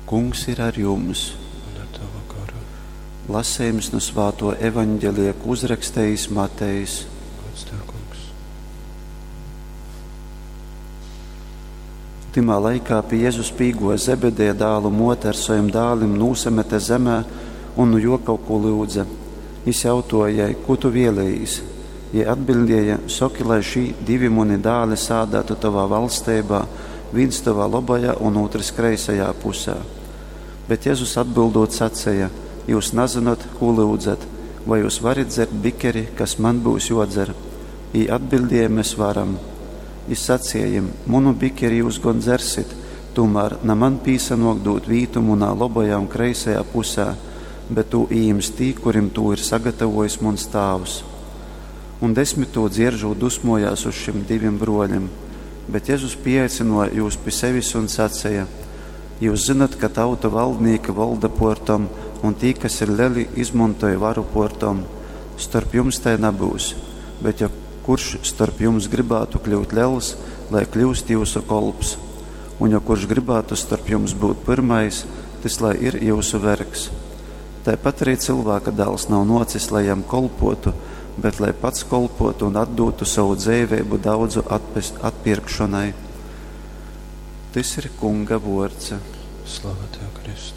Kungs ir ar jums. Un ar tavu garu. Lasījums no Svāto evaņģelija, ko uzrakstījis Matejs. Gods tev, kungs. Timā laikā pie Jēzus pīgo Zebedeja dālu mote ar saviem dālim nūsamete zemē un nu jo kaut ko lūdza. Jis jautoja jai, ko tu vēlējis? Jai atbildēja, soki, lai šī divi muni dāli sādātu tavā valstībā, viens tavā labajā un otrs kreisajā pusē. Bet Jēzus atbildot sacīja, jūs nezināt, ko lūdzat, vai jūs varat dzert bikeri, kas man būs jodzer? Jī atbildēja, mēs varam. Jis sacīja jim, munu bikeri jūs gon dzersit, tomēr na man pīsanok dot vītu munā labajā un kreisajā pusē, bet tū ījims tī, kurim tū ir sagatavojis muns tāvs. Un desmit tū dzieržot dusmojās uz šim divim broļim, bet Jēzus pieaicināja jūs pie sevis un sacīja: Jūs zinat, ka tauta valdnieki valda portom, un tī, kas ir leli, izmantoja varu portom. Starp jums tai nebūs, bet ja kurš starp jums gribētu kļūt liels, lai kļūst jūsu kolps, un ja kurš gribētu starp jums būt pirmais, tas lai ir jūsu vergs. Tāpat arī cilvēka dēls nav nocis, lai jam kolpotu, bet lai pats kolpotu un atdotu savu dzīvību daudzu atpest, atpirkšanai. Tys ir Kunga vords. Slava tev, Kristu.